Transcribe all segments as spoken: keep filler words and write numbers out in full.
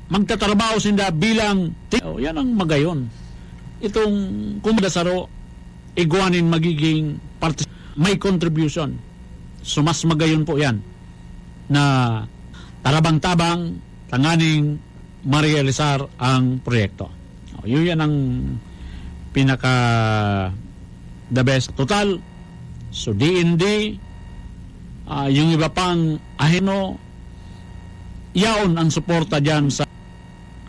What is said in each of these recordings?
magtatrabaho sinda bilang ti-, oh, yan ang magayon. Itong kumbaga saro, igwanin magiging parti-, may contribution. So, mas magayon po yan na tarabang-tabang tanganing marealisar ang proyekto. Oh, yun yan ang pinaka the best. Total, so D N D, ah, yung iba pang ahino, yaon ang suporta dyan sa,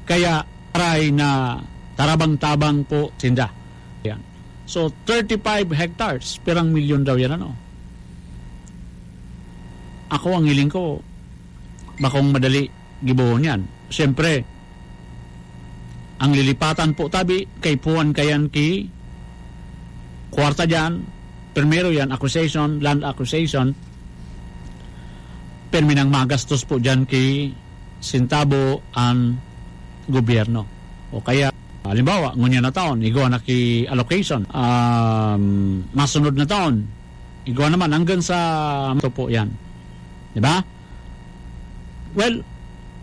kaya aray na tarabang-tabang po sinda. Yan. So, thirty-five hectares, pirang milyon daw yan, ano? Ako, ang hiling ko, bakong madali gibohon yan. Siyempre, ang lilipatan po tabi, kay puwan kayan ki kwarta dyan. Primero yan, acquisition, land acquisition. Pirmi nang magastos po dyan ki sintabo ang gobyerno. O kaya, halimbawa, ngunyan na taon, igwa na ki allocation. Um, masunod na taon, igwa naman hanggang sa ito po yan. Di ba? Well,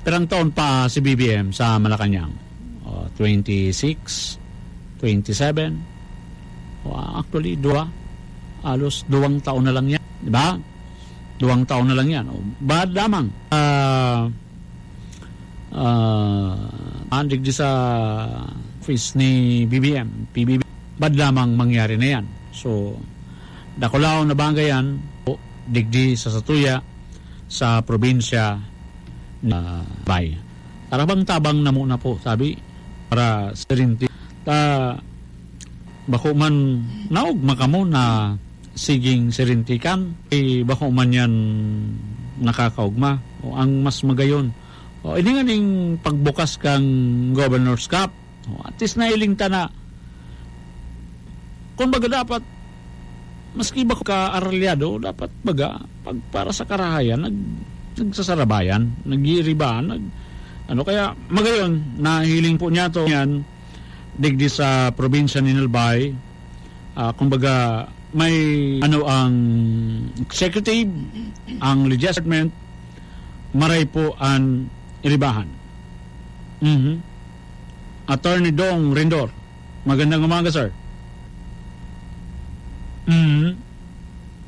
pirang taon pa si B B M sa Malacanang? O, twenty-six, twenty-seven. O, actually, dua. Halos duwang taon na lang yan. Di ba? Duwang taon na lang yan. O, bad lamang. Ah, ah, andig di sa office ni B B M, P B B, bad lamang mangyari na yan. So, dakulaon na bagay yan, o, digdi sa satuya, sa probinsya na bay. Tarabang-tabang na muna po, sabi, para sa rinti. Ta, bako man naog makamo na siging sirintikan, eh, bako man yan nakakaugma. O, ang mas magayon. O, ini nga ning pagbukas kang Governor's Cup. O, at least nailing ta na, kung baga dapat, maski ba ka aralyado, dapat baga, pag para sa karahayan, nag, nagsasarabayan, nag-iiribahan, nag, ano, kaya magayon, nahiling po niya to yan, digdi sa probinsya ni Nalbay, ah, kumbaga, may, ano, ang executive, ang legislative, maray po ang iribahan. Mhm. Attorney Dong Rendor, magandang umaga, sir. Mhm.